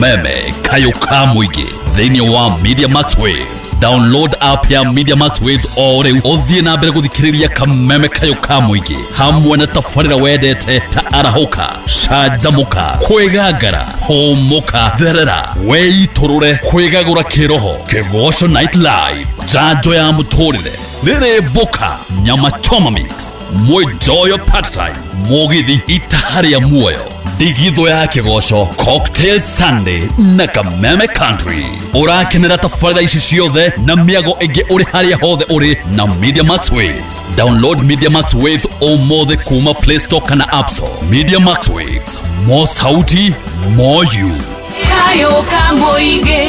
Kameme Kayo ka Mũingĩ thĩinĩ wa Media Max Waves. Download app ya Media Max Waves o rĩu ũthiĩ na mbere gũthikĩrĩria Kameme Kayo ka Mũingĩ hamwe na tabarĩra wendete ta Arahũka, Canjamũka, Kwĩgangara, Hũmũka, Therera, Wĩitũrũre, Kwĩgagũra Kĩroho, Kĩgoco Night Live, Njanjo ya Mũtũrĩre, Rĩrĩ Mbũka, Nyama Choma Mix, Mwĩnjoyo Part Time, Mũgithi Itaha rĩa Muoyo, Ndigithũ ya Kĩgoco, Cocktail Sunday na Kameme Country. Ũrakenera tabarĩra ici ciothe na mĩago ĩngĩ ũrĩ harĩa hothe ũrĩ na Media Max Waves. Download Media Max Waves ũmũthĩ kuma Play Store kana App Store. Media Max Waves, more sauti, more you. Kayo ka Mũingĩ.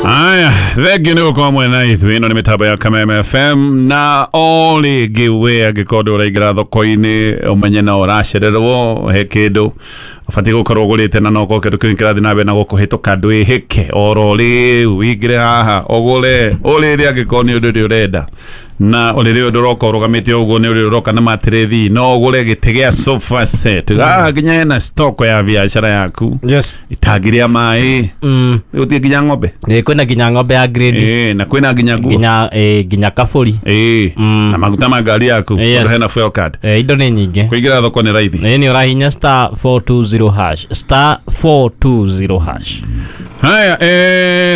Aya, thengiũ nĩ gũkorwo mwena ithuĩ. Ĩno nĩ mĩtambo ya Kameme FM, na o rĩngĩ we angĩkorwo ndũraingĩra thoko-inĩ, ũmenye no ũracererwo. He kĩndũ ũbatiĩ gũkorwo ũgũrĩte, na nokorwo kĩndũ kĩu kĩrathiĩ na mbere na gũkũhĩtũka, ndwĩhĩke oro rĩu wingĩre haha ũgũre ũrĩrĩ, angĩkorwo nĩ ũndũ ũrĩa ũrenda na ũrĩrĩ ũyũ ndũroka ũrũgamĩte ũguo, nĩ ũrĩ ũroka na matĩrĩthi. No ũgũre gĩtĩ gĩa sofa set haha, nginya hena stock ya biacara yaku, itangi rĩa maĩ, gũtirĩ nginya ng'ombe. Ĩ, kwĩna nginya ng'ombe ya grade. Ĩ, na kwĩna nginya nguo. Nginya nginya kabũri. Ĩ, na maguta ma ngari yaku, tondũ hena fuel card. Indo nĩ nyingĩ. Kũingĩra thoko nĩ raithi. Ĩ, nĩ ũrahinya *420#, *420#. Haya,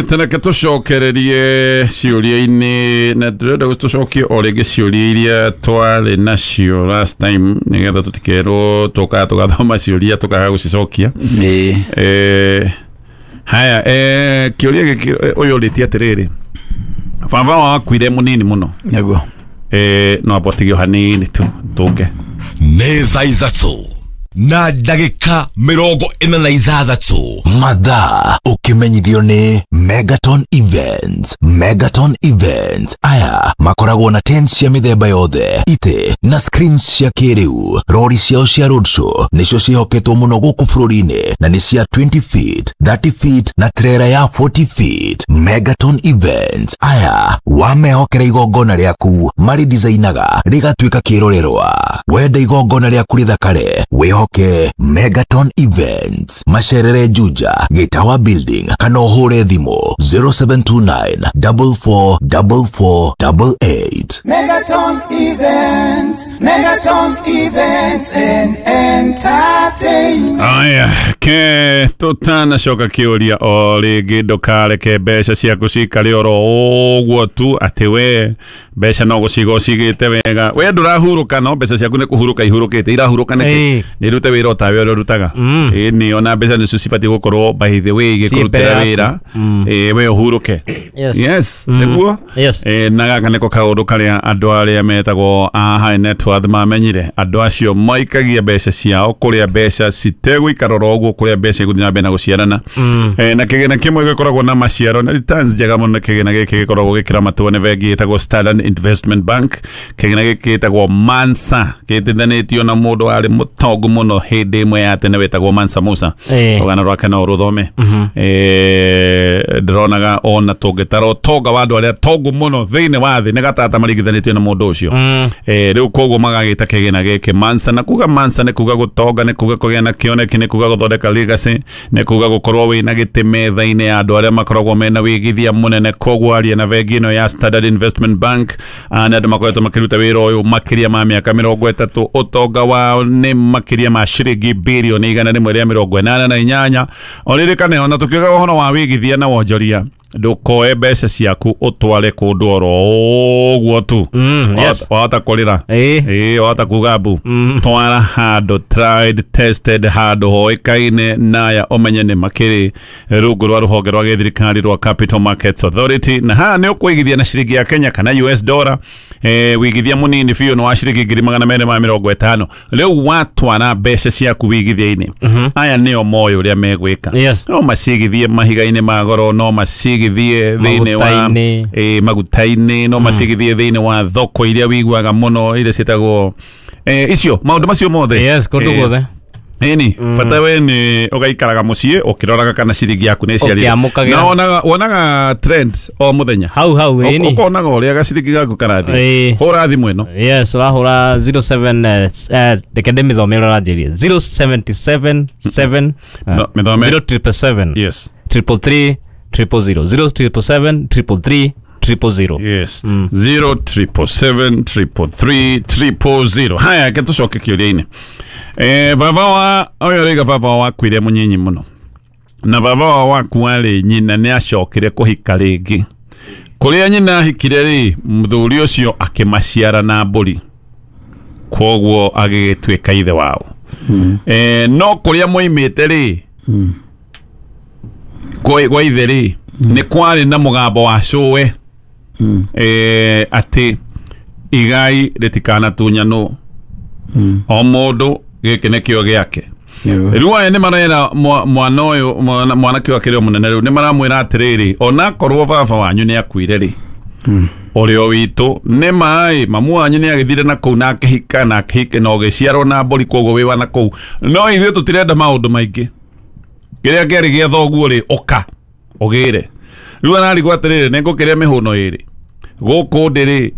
tereke tũcokererie ciũria-inĩ, na ndĩrenda tũcokie o rĩngĩ ciũria iria twarĩ nacio last time, nĩgetha tũtikerwo tũkaga tũgathoma ciũria tũkaga gũcicokia. Haya, kĩũria gĩkĩ, ũyũ ũrĩtie atĩrĩrĩ, baba wao akuire mũnini mũno. Nĩguo. No amba ũtige o hanini tu tũke. Nĩ thaa 6:46. Mathaa ũkĩmenyithio nĩ Megaton Events. Megaton Events aya makoragwo na tents cia mĩthemba yothe, itĩ na screens cia kĩrĩu. Rori ciao cia roadshow nĩcio ciĩhoketwo mũno gũkũ bũrũri-inĩ, na nĩ cia 20 feet, 30 feet na trailer ya 40 feet. Megaton Events aya wamehokera igongona rĩaku, marĩ designaga rĩgatuĩka kĩrorerwa. Wenda igongona rĩaku rĩthakare, wĩhoke Megaton Events. Macerere Juja, Gĩtawa Building, kana ũhũre thimũ 0729 44 44 88. Megaton Events, Megaton Events and Entertainment. Aya, ke tũtanacoka kĩũria o rĩngĩ, ndũkareke mbeca ciaku cikare oro ũguo tu, atĩ we mbeca no gũciga ũcigĩte wega, we ndũrahurũka, no mbeca ciaku nĩ kũhurũka ihurũkĩte, irahurũka nĩkĩ? Nĩ irute wĩra o tawe ũrĩa ũrutaga. Ĩ, nĩ ona mbeca nĩcio cibatiĩ gũkorwo, by the way, Ciĩ mbere igĩkũrutĩra yaku. wĩra. Ĩ, we ũhurũke. Yes, nĩguo. Na gaka nĩko kaũndũ karĩa andũ arĩa metagwo a high net worth mamenyire. Andũ acio maikagia mbeca ciao kũrĩa mbeca citegũikara oro ũguo, kũrĩa mbeca igũthiĩ na mbere na gũciarana. Na kĩgĩna kĩmwe gĩkoragwo na maciaro na returns njega mũno, kĩgĩna gĩkĩ gĩkoragwo gĩkĩramatwo nĩ bengi ĩtagwo Standard Investment Bank. Kĩgĩna gĩkĩ gĩtagwo Mansa, gĩtithanĩtio na mũndũ warĩ mũtongu mũno hĩndĩ ĩmwe ya tene wĩtagwo Mansa Musa. Rũgano rwake no rũthome. Ndĩronaga ona tũngĩtara ũtonga wa andũ arĩa tongu mũno thĩinĩ wa thĩ, nĩ gatata maringithanĩtio na mũndũ ũcio. Rĩu koguo magagĩta kĩgĩna gĩkĩ Mansa, na kuga Mansa nĩ kuga gũtonga, nĩ kuga kũgĩa na kĩoneki, nĩ kuga gũthondeka legacy, nĩ kuga gũkorwo wĩna gĩtĩ metha-inĩ ya andũ arĩa makoragwo mena wĩigithia mũnene. Koguo aria na bengi ĩno ya Standard Investment Bank. Nĩ andũ makoretwo makĩruta wĩra ũyũ makĩria ma mĩaka 30. Ũtonga wao nĩ makĩria ma ciringi birioni 188. Oririkane, ona tũkiuga ũhoro wa wĩigithia na wonjoria, ndũkoe mbeca ciaku ũtware kũndũ oro ũguo tu. Wahota kũrĩra. Ĩĩ, wahota kuga mbu. Twara handũ tried, tested, handũ hoĩkaine, naya ũmenye nĩ makĩrĩ rungu rwa rũhonge rwa gĩthirikari rwa Capital Markets Authority. Na haha nĩ ũkũigithia na ciringi ya Kenya kana US dollar. Wĩigithia mũnini biũ nĩ wa ciringi 250,000. Rĩu watwara mbeca ciaku wĩigithia-inĩ, aya nĩo moĩ ũrĩa megwĩka. No macigithie mahiga-inĩ ma goro, no macigithie thĩinĩ wa Maguta-inĩ. Maguta-inĩ, no macigithie thĩinĩ wa thoko iria wiguaga mũno, iria ciĩtagwo icio maũndũ macio mothe. Yes, kũndũ guothe. Ĩni bata we nĩ ũgaikaraga mũciĩ ũkĩroraga kana ciringi yaku nĩ ciarire na wonaga trend o mũthenya hau hau ĩni ũkonaga ũrĩa gaciringi gaku karathiĩ hũra thimũ ĩno yes ũrahũra 07 reke ndĩmĩthome ũrĩa ũranjĩria 077 7 077 yes 333 000 077 333 000 yes 077 333 000 haya ke tucoke kĩũria-inĩ baba wa ũyũ rĩga baba wakuire mũnyinyi mũno na baba wa wakua rĩ nyina nĩ acokire kũhika rĩngĩ kũrĩa nyina ahikire rĩ mũthuri ũcio akĩmaciara na mbũri kwoguo agĩgĩtuĩka ithe wao no kũrĩa moimĩte rĩ kwa ithe rĩ nĩ kwarĩ na mũgambo wa cũwe atĩ igai rĩtikanatunyanwo o mũndũ gĩkĩ nĩkĩo gĩake rĩu aya nĩ marera mwana ũyũ mwanake ũyũ akĩrĩ o mũnene rĩu nĩ maramwĩra atĩrĩrĩ onakorwo baba wanyu nĩ akuire rĩ ũrĩa witũ nĩ maĩ mamu wanyu nĩ agĩthire na kũu na akĩhika na akĩhika na ũgĩciarwo na mbũri kwoguo wĩ wa na kũu no ithuĩ tũtirenda maũndũ maingĩ kĩrĩa kĩarĩ gĩa thoguo rĩ ũka ũgĩre rĩu ararigwo atĩrĩrĩ nĩ ngũkĩrĩa mĩhũno ĩrĩ gũkũ ndĩ rĩ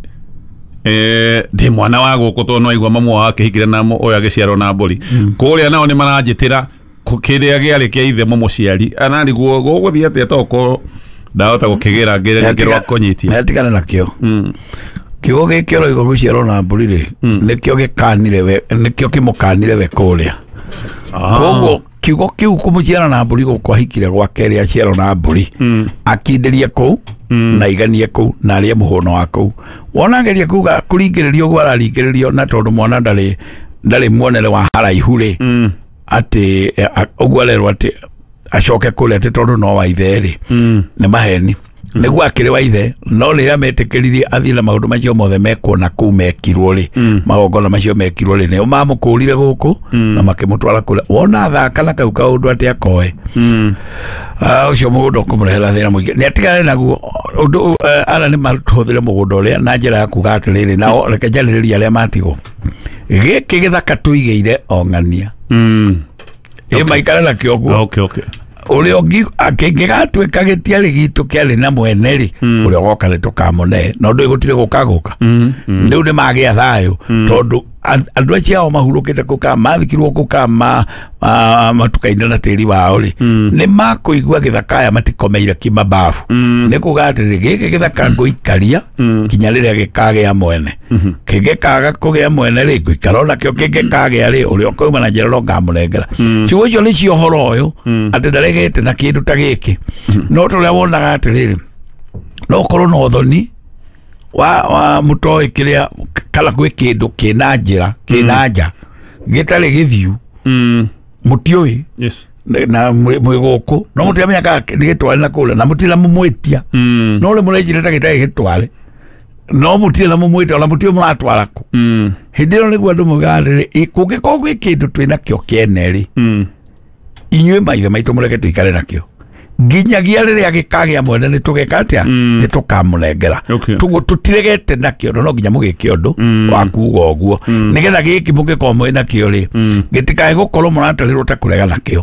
ndĩ mwana wa gũkũ tondũ no aigua mamu wao akĩhikire na ũyũ agĩciarwo na mbũri kũrĩa nao nĩ maranjĩtĩra kĩrĩa gĩarĩ kĩa ithe mũmũciari ararigwo gũgũthiĩ atĩa tokorwo ndahota gũkĩgĩra ngĩre ngĩrwa kũnyitia nĩatigane nakĩo kiugo gĩkĩ ũroiga gũciarwo na mbũri rĩ nĩkĩo gĩkanire we nĩkĩo kĩmũkanire we kũrĩa koguo kiugo kĩu kũmũciara na mbũri gũkũ ahikire gwake rĩ aciarwo na mbũri akindĩrie kũu na iganie kũu na arĩe mũhũno wa kũu wona ageria kuga kũringĩrĩrio ũguo araringĩrĩrio na tondũ mwana ndarĩ muonere wa haraihu rĩ atĩ ũguo arerwo atĩ acoke kũrĩa atĩ tondũ no wa ithe rĩ nĩ maheni nĩguo akĩrĩ wa ithe no rĩrĩa metĩkĩririe athiĩ na maũndũ macio mothe mekuona kũu mekirwo rĩ magongona macio mekirwo rĩ nĩo mamũkũrire gũkũ na makĩmũtwara kũrĩa wona athaka na kau kaũndũ atĩ akoe ũcio mũgũnda ũkũmũrehera thĩna mũingĩ nĩ atigane naguo ũndũ ara nĩ matũhũthĩre mũgũnda ũrĩa na njĩra ya kuga atĩrĩrĩ nao reke njarĩrĩrie arĩa matigwo gĩkĩ gĩthaka tũigĩire o ng'ania ĩ maikare nakĩo ũguo ũrĩa ũngĩ kĩngĩgatuĩka gĩtiarĩ gitũ kĩarĩ na mwene rĩ ũrĩa ũgoka nĩ tũkamũne no ndũĩ gũtirĩ gũka gũka rĩu nĩ magĩa thayũ tondũ andũ acio ao mahurũkĩte kũu kana mathikirwo kũu kana matukaine na tĩri wao rĩ nĩ makũigua gĩthaka aya matikomeire kĩmababu nĩ kuga atĩrĩ gĩkĩ gĩthaka ngũikaria kinya rĩrĩa gĩkagĩa mwene kĩngĩkaga kũgĩa mwene rĩ ngũikara onakĩo kĩngĩkagĩa rĩ ũrĩa ũkauma na njĩra no ngamũnengera ciugo icio nĩcio ũhoro ũyũ atĩ ndaregete na kĩndũ ta gĩkĩ no tũrĩa wonaga atĩrĩrĩ no ũkorwo na ũthoni wa mũtoĩ kĩrĩa kana gwĩ kĩndũ kĩna njĩra kĩna nja gĩtarĩ gĩthiu mũtiũĩ na mwĩ gũkũ no mũtiramenya kana nĩ gĩtware na kũrĩa na mũtirĩ na mũmwĩtia no rĩ mũrenjire ta gĩtarĩ gĩtware no mũtirĩ na mũmwĩtia ona mũtiũĩ mũratwara kũ hĩndĩ ĩyo nĩguo andũ maugaga atĩrĩ kũngĩkorwo gwĩ kĩndũ twĩ nakĩo kĩene rĩ inyuĩ maithe maitũ mũreke tũikare nakĩo nginyagia rĩrĩa gĩkagĩa mwene nĩ tũgeka atĩa nĩ tũkamũnengera tũguo tũtiregete nakĩo no nginya mũgĩke ũndũ wa kuga ũguo nĩgetha gĩkĩ mũngĩkorwo mwĩ nakĩo rĩ gĩtikae gũkorwo mũratarĩrwo ta kũrega nakĩo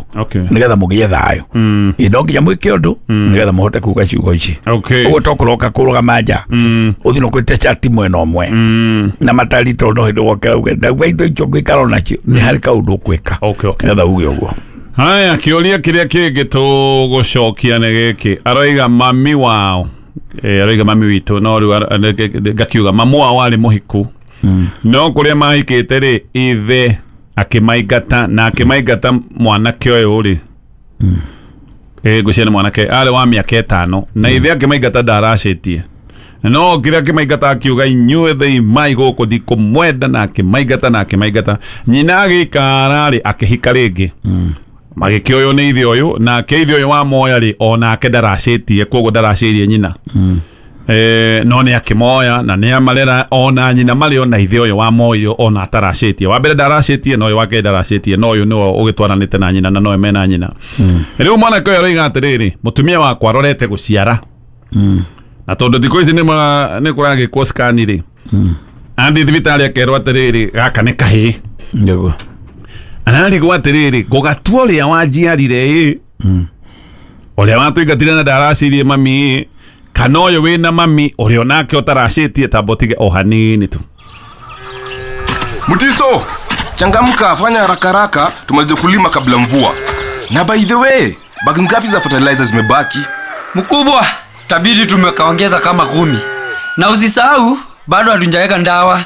nĩgetha mũgĩe thayũ ĩ no nginya mwĩke ũndũ nĩgetha mũhote kuga ciugo ici ũguo to kũroka kũrũgama nja ũthiĩ na ũkwĩte cati mwena ũmwe na matari tondũ no hĩndĩ wokĩra uge ndauga indo icio ngũikara onacio nĩ harĩ kaũndũ ũkwĩka nĩgetha uge ũguo. Haya kĩũria kĩrĩa kĩngĩ tũgũcokia nĩ gĩkĩ aroiga mami wao aroiga mami witũ no rĩu ngakiuga mamu wao arĩ mũhiku no kũrĩa mahikĩte rĩ ithe akĩmaingata na akĩmaingata mwanake ũyũ rĩ ngwĩciria nĩ mwanake arĩ wa mĩaka 5 na ithe akĩmaingata ndaracĩtie no kĩrĩa akĩmaingata akiuga inyuĩ thĩi mai gũkũ ndikũmwenda na akĩmaingata na akĩmaingata nyina agĩikara rĩ akĩhika rĩngĩ magĩkĩoywo nĩ ithe ũyũ nake ithe ũyũ wa moya rĩ onake ndaracĩtie koguo ndaracĩirie nyina no nĩ akĩmoya na nĩ amarera ona nyina marĩ ona ithe ũyũ wa moyo ona ataracĩtie wa mbere ndaracĩtie na ũyũ wa kerĩ ndaracĩtie no ũyũ nĩwe ũgĩtwaranĩte na nyina na nowe mena nyina rĩu mwanake ũyũ aroiga atĩrĩrĩ mũtumia wakwa arorete gũciara na tondũ thikũ ici nĩ kũragĩkwo scan rĩ athiĩ thibitarĩ akerwo atĩrĩrĩ gaka nĩ kahĩĩ nĩguo Ararigwo atĩrĩrĩ ngũgatua ũrĩa wanjiarire ĩ ũrĩa watũingatire na ndaracirie mami ĩ kana ũyũ wĩna mami ũrĩa onake ũtaracĩtie tamba ũtige o hanini tu. Mutiso, changamka, fanya haraka haraka tumalize kulima kabla mvua. Na by the way, bagi ngapi za fertilizer zimebaki? Mkubwa, tabidi tumekaongeza kama 10. Na usisahau bado hatujaweka ndawa.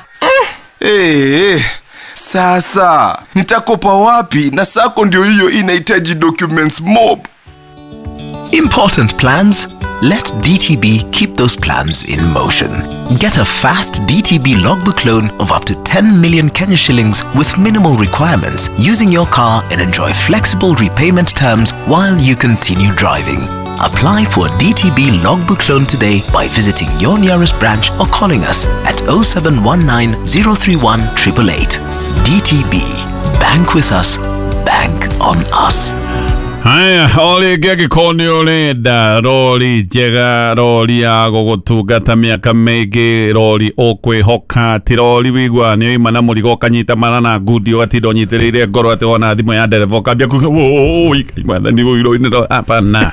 Sasa nitakopa wapi na sako ndio hiyo inahitaji documents mob. Important plans? Let DTB keep those plans in motion. Get a fast DTB logbook loan of up to 10 million Kenya shillings with minimal requirements using your car and enjoy flexible repayment terms while you continue driving. Apply for a DTB logbook loan today by visiting your nearest branch or calling us at 0719 031 888. DTB. Bank with us. Bank on us. Haya, o rĩngĩ angĩkorwo nĩ ũrenda rori njega, rori ya gũgũtungata mĩaka mĩingĩ, rori ũkwĩhoka, ti rori wĩiguaga nĩ ũima na mũrigo ũkanyita mara na ngundi ũgatinda ũnyitĩrĩire ngoro atĩ wona thimũ ya ndereba ũkambia kuga wũi mwathani ũirũ hapana.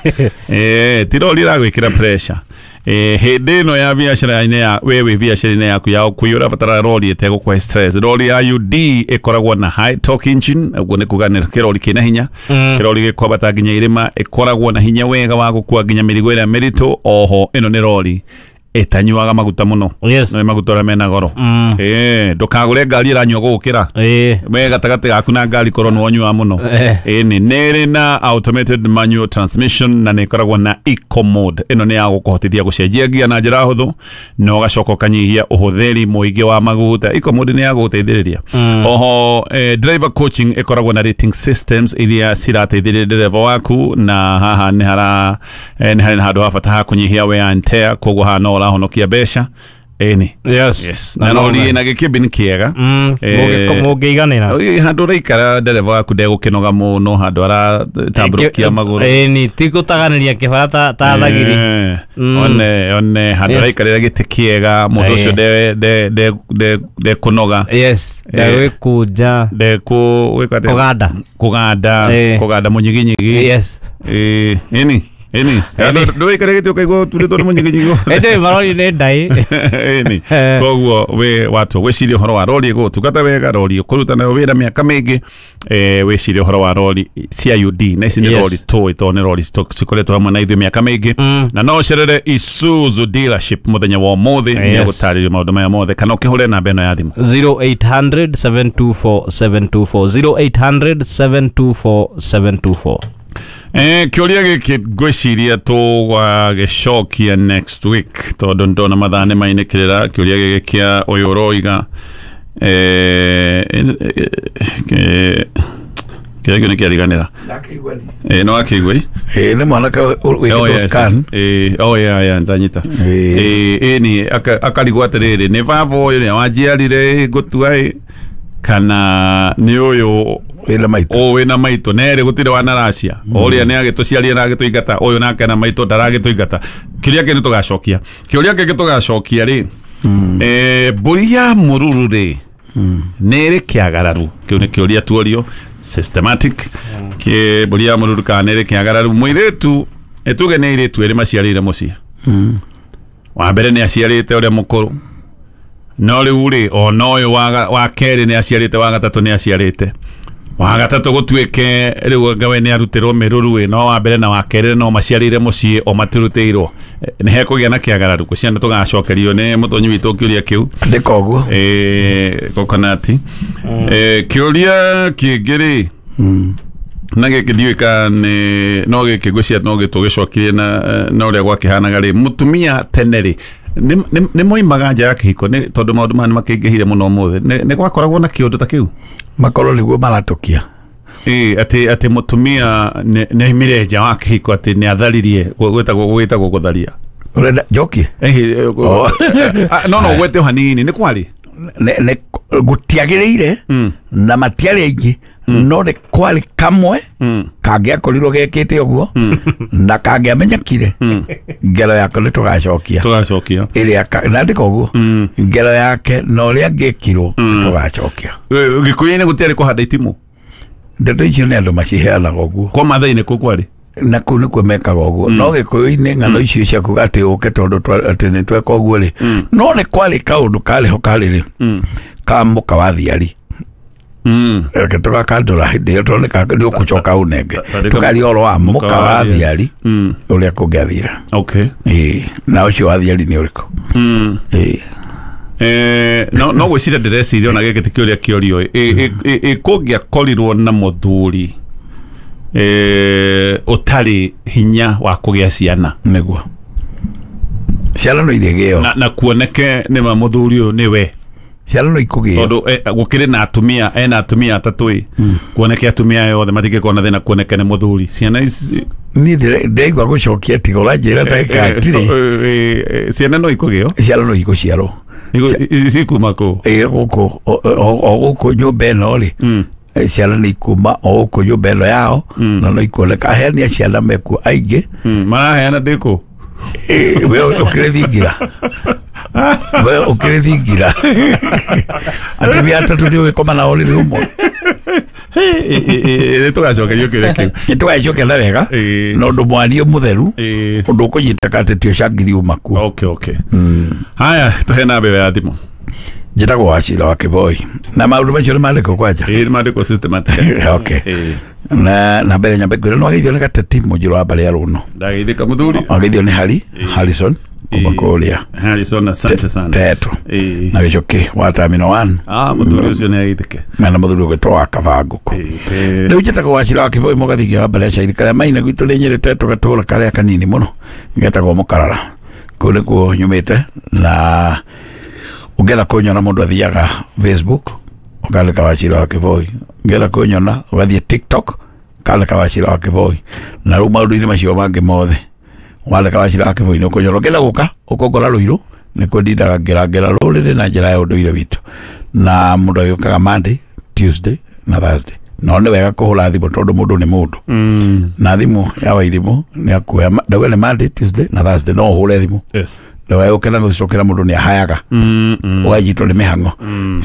Ti rori ĩragwĩkĩra pressure. Hĩndĩ ĩno ya biacara-inĩ ya wewe biacara-inĩ yaku ya ũkui ũrabatara rori ĩtegũkũhe stress. Rori ya UD ĩkoragwo na high torque engine, ũguo nĩ kuga nĩ kĩrori kĩna hinya, kĩrori gĩkwambata nginya irĩma, ĩkoragwo na hinya wega wa gũkua nginya mĩrigo ĩrĩa mĩritũ. Oho ĩno nĩ rori ĩtanyuaga maguta mũno. Yes. Nĩ maguta ũrĩa mena goro. Ndũkagũre ngari ĩranyua gũgũkĩra. We gatagatĩ gaku na ngari korwo nĩ wanyua mũno. Nĩ ĩrĩ na automated manual transmission na nĩ ĩkoragwo na eco mode. Ĩno nĩ ya gũkũhotithia gũcenjia ngia na njĩra hũthũ na ũgacoka ũkanyihia ũhũthĩri mũingĩ wa maguta. Eco mode nĩ ya gũgũteithĩrĩria. Oho driver coaching ĩkoragwo na rating systems iria cirateithĩrĩria ndereba waku, na haha nĩ harĩ na handũ ha bata ha kũnyihia wear and tear, koguo haha no ũrahonokia mbeca. Ĩni. Yes. Yes. Na rori ĩna gĩkĩmbini kĩega. Mũngĩiganĩra. Handũ ũraikara ndereba waku ndegũkĩnoga mũno, handũ aratambũrũkia magũrũ. Ĩni, ti gũtaganĩria kĩbara ta thagiri. One handũ araikarĩra gĩtĩ kĩega, mũndũ ũcio ndekũnoga. Yes. Ndegwĩkũnja. Ndekũganda. Kũganda mũnyiginyigi. Yes. Ĩni. Ĩni. Ndũikare gĩtĩ ũkaigua ũturĩtwo nĩ mũnyiginyigi. Ĩndĩ marori nĩ ndai. Ĩni. Koguo we watu wĩcirie ũhoro wa rori ĩgũgũtungata wega, rori ũkũruta nayo wĩra mĩaka mĩingĩ. Wĩcirie ũhoro wa rori cia UD na ici nĩ rori tũĩ tondũ nĩ rori cikoretwo hamwe na ithuĩ mĩaka mĩingĩ. Na no ũcerere Isuzu dealership mũthenya wa ũmũthĩ nĩ ũgũtarĩrio maũndũ maya mothe, kana ũkĩhũre namba ĩno ya thimũ 0800 724 724 0800 724 724. Kĩũria gĩkĩ ngwĩciria tũgagĩcokia next week tondũ ndona mathaa nĩ mainĩkĩrĩra. Kĩũria gĩkĩ kĩa ũyũ ũroiga kĩrĩa kĩu nĩ kĩariganĩra. No akĩigua nĩ mwanake wĩkĩtwo scan. Oh yeah, ndanyita. Ĩni akarigwo atĩrĩrĩ, nĩ baba ũyũ nĩ wanjiarire ngũtua kana nĩ ũyũ wĩna maitũ. Wĩna maitũ nerĩ gũtirĩ wanaracia. Ũrĩa nĩ agĩtũciaria na agĩtũingata, ũyũ nake na maitũ ndaragĩtũingata. Kĩũria kĩngĩ tũgacokia. Kĩũria kĩngĩ tũgacokia rĩ, mbũri ya mũruru rĩ nĩ ĩrĩ kĩagararu? Kĩu nĩ kĩũria tuorio systematic. Mbũri ya mũruru kana nĩ ĩrĩ kĩagararu? Mũirĩtu ĩtuge nĩ airĩtu erĩ maciarĩire mũciĩ. Wa mbere nĩ aciarĩte ũrĩa mũkũrũ, no rĩu rĩ ona ũyũ wa kerĩ nĩ aciarĩte, wa gatatũ nĩ aciarĩte, wa gatatũ gũtuĩke rĩu anga we nĩ arutĩrwo mĩruru ĩ, no wa mbere na wa kerĩ no maciarĩire mũciĩ o matirutĩirwo. Nĩ hekũgĩa na kĩagararu gwĩciria nĩ tũgacokerio nĩ mũtonyi witũ kĩũria kĩu. Andĩka ũguo. Kokonati. Kĩũria kĩngĩ rĩ, na gĩkĩ ndiũĩ kana nĩ no gĩkĩ ngwĩciria no gĩtũgĩcokirie na ũrĩa gwakĩhanaga rĩ, mũtumia tene rĩ nĩ moimaga nja ya kĩhiko nĩ tondũ maũndũ maya nĩ makĩingĩhire mũno ũmũthĩ, nĩ gwakoragwo na kĩũndũ ta kĩu? Makorwo nĩguo maratũkia. Atĩ mũtumia nĩ aimire nja wa kĩhiko, atĩ nĩ atharirie, gwĩtagwo gũtharia. Ũrenda njokie? No ũgwete o hanini, nĩ kwarĩ? Gũtiagĩrĩire na matiarĩ aingĩ, no nĩ kwarĩ kamwe kangĩakorirwo gekĩte ũguo na kangĩamenyekire, ngero yako nĩ tũgacokia. Tũgacokia. Ĩrĩa nandĩka ũguo, ngero yake na ũrĩa angĩkirwo nĩ tũgacokia. Gĩkũyũ-inĩ gũtiarĩ kũhanda itimũ? Ndeto icio nĩ andũ maciheanaga ũguo. Kwa Maathai-inĩ kũ kwarĩ? Na kũu nĩkuo mekaga ũguo. No Gĩkũyũ-inĩ ng'ano icio cia kuga atĩ ũke tondũ atĩ nĩ tweka ũguo rĩ, no nĩ kwarĩ kaũndũ karĩ ho karĩ rĩ, ka mũka wa thiari. Reke tũgakandũra hĩndĩ ĩyo tondũ nĩ ũkũcoka ũnenge. Tũkaria ũhoro wa mũka wa thiari ũrĩa kũngĩathire. Okay. Ĩĩ, na ũcio wa thiari nĩ ũrĩkũ? Ĩĩ. No gwĩciria ndĩreciria ona gĩkĩ ti kĩũria kĩorio ĩ kũngĩakorirwo na mũthuri ũtarĩ hinya wa kũgĩa ciana. Nĩguo. Ciana no irĩgĩo. Na kuoneke nĩma mũthuri ũyũ nĩwe. Ciana no ikũgĩo. Tondũ gũkĩrĩ na atumia, ena atumia atatũ ĩ. Kuoneke atumia aya othe matingĩkorwo na thĩna kuoneke nĩ mũthuri. Ciana ici niĩ ndĩraigua gũcokia tiga ũranjĩra ndagĩka hatirĩ. Ciana no ikũgĩo? Ciana no ikũciarwo. Cikuma kũ? Ĩ gũkũ o gũkũ nyũmba ĩno rĩ, ciana nĩ ikuma o gũkũ nyũmba ĩno yao, na no ikuoneka aheani a ciana mekuo aingĩ. Maraheana ndĩkũ? We ũkĩrĩ thingira. We ũkĩrĩ thingira. Atumia atatũ nĩ ũgĩkoma nao rĩrĩ ũmwe. Nĩ tũgacokerio kĩũria kĩu. Nĩ tũgagĩcokia na wega, na ũndũ mwario mũtheru, ũndũ ũkũnyitĩka atĩ ti ũcangiri uma kuo. Okay, okay. Haya, tũhe namba ĩyo ya thimũ. Njĩtagwo Wachira wa Kĩboi. Na maũndũ macio nĩ mandĩkwo kwanja? Ĩĩ, nĩ mandĩkwo systematically. Okay. Na mbere nyambe ngwĩre nĩ wageithio nĩ Gateti mũnjĩrũ wa mbarĩ ya Rũno. Ndageithĩka mũthuri. Wageithio nĩ Harrison kuma kũrĩa. Harrison, asante sana. Teto. Na Gĩcũkĩ wa Terminal 1. Mũthuri ũcio nĩ ageithĩke. Na mũthuri ũgwĩtwo wa Kabangũkũ. Rĩu njĩtagwo Wachira wa Kĩboi mũgathingia wa mbarĩ ya Cairi karĩa maina gwitũ nĩ Nyĩrĩ Teto gatũũra karĩa kanini mũno getagwo Mũkarara. Kũu nĩkuo nyumĩte na ũngĩenda kũnyona mũndũ athiaga Facebook ũkandĩka Wachira wa Kĩboi. Ũngĩenda kũnyona ũgathiĩ TikTok ũkandĩka Wachira wa Kĩboi. Na rĩu maũndũ-inĩ macio mangĩ mothe wandĩka Wachira wa Kĩboi nĩ ũkũnyona. Ũngĩenda gũka ũkongora Rũirũ nĩkuo ndindaga ngĩrangĩra rũrĩrĩ na njĩra ya ũndũire witũ. Na mũndũ agĩũkaga Monday, Tuesday na Thursday. No nĩ wega kũhũra thimũ tondũ mũndũ nĩ mũndũ. Na thimũ ya Wairimũ nĩ akuoya, ndauga nĩ Monday, Tuesday na Thursday no ũhũre thimũ. Yes. Ndauga ũke na gũcokera mũndũ nĩ ahayaga. Ũganyitwo nĩ mĩhang'o.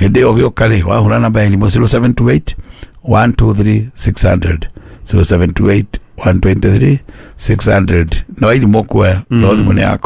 Hĩndĩ ĩyo ũgĩũka rĩ, wahũra namba ya thimũ 0728 123 600. 0728 123 600. Na Wairimũ ũkuoya, no thimũ nĩ yakwa.